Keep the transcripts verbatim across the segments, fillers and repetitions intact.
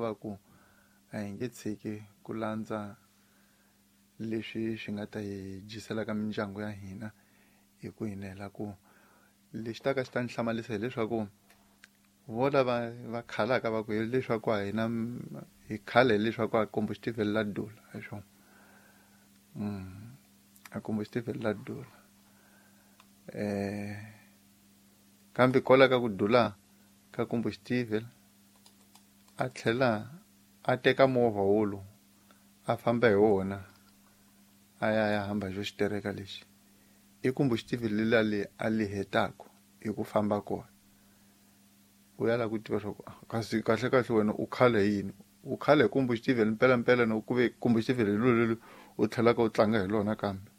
Va ku a hi nge tshiki ku landza leswi swi nga ta hi dyiselaka mindyangu ya hina hi ku hi ku lexi ta ka xi ta ni hlamarisa hileswaku vo lava va khalaka va ku hileswaku a hina hi khale hileswaku a combustible la dula hi swona a combustible la dula eh kambe kwala ka ku dula ka combustible a tlhela a teka movha wolo a famba hi wona a ya ya hamba xo xitereka lexi i combustible lela le a li hetaka hi ku famba kona u ya lava ku tiva swa ku kasi kahle kahle wena u khale hi yini u khale hi combustible mpela mpela no ku ve combustible hi lolo u tlhelaka u tlanga hi lona kambe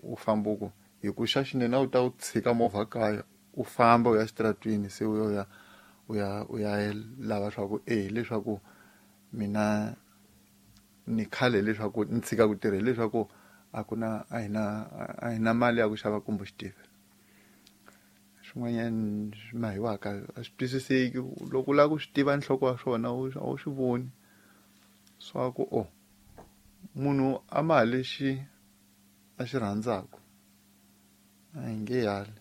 u famba ku hi ku xa xinene a wu ta u tshika movha kaya u famba u ya xitaratwini se u ya u ya u ya lava swa ku e hileswaku mina ni khale hileswaku ni tshika ku tirha hileswaku a ku na a hi na a hi na mali ya ku xava combustible swin'wanyana swi mahiwaka a swi twisiseki loko u lava ku swi tiva nhloko wa swona a wu swi voni swa ku o munhu a ma lexi a xi rhandzaka a hi nge yali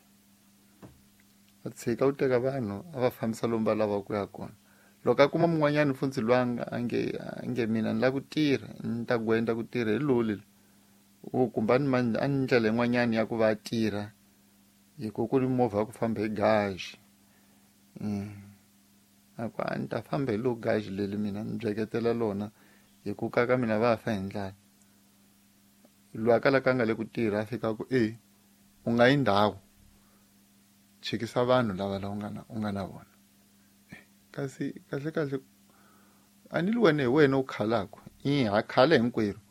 a tshika u teka vanhu a va fambisa lomu va lavaka ku ya kona loko a kuma mun'wanyana funtsi lwanga a nge a nge mina ni lava ku tirha ni ta gwenda ku tirha hi loli u kumbe a ni a ni ndlela yin'wanyana ya ku va a tirha hi ku ku ni movha ya ku famba hi gaji a ku a ni ta famba hi lo gaji leli mina ni byeketela lona hi ku ka ka mina va fa hi ndlala loyi a kalaka a nga le ku tirha a fika ku e u nga yi ndhawu chikisa vanhu lava la u nga na u nga na vona kasi kahle kahle a ni li wena hi wena u khalaka i ha khale hinkwerhu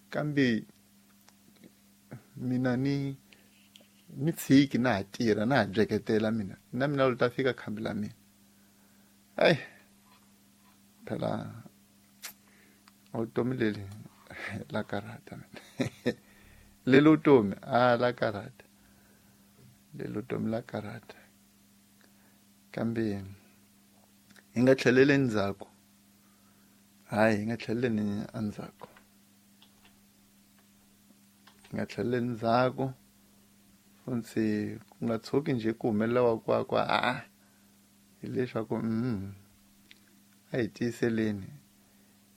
kambe mina ni ni tshiki na ha tirha na ha byeketela mina na mina lo ta fika khambi la mina ai phela vutomi leli la karhata mina leli vutomi a la karhata leli vutomi la karhata kambe hi nga tlheleli endzhaku hayi hi nga tlheleli endzhaku hi nga tlheleli endzhaku funtsi ku nga tshuki njhe ku humelela wa kwa kwa a hileswaku mm a hi tiyiseleni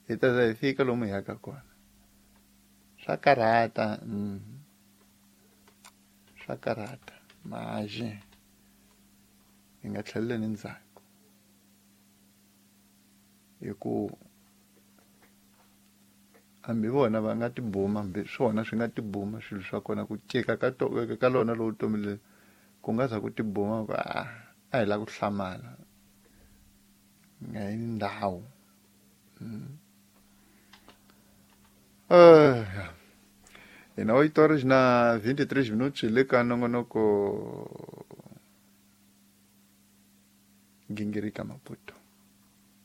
hi ta za hi fika lomu hi yaka kona swa karhata mm swa karhata maje hi nga tlheleli endzhaku hi ku hambi vona va nga tibuma hambi swona swi nga tibuma swilo swa kona ku cika ka to ka lona lowu vutomi leri ku nga za ku tibuma ku a a hi lava ku hlamala nga yi ndhawu hina oito horas na vinte e três minutos le ka nongonoko Gingirika Maputo.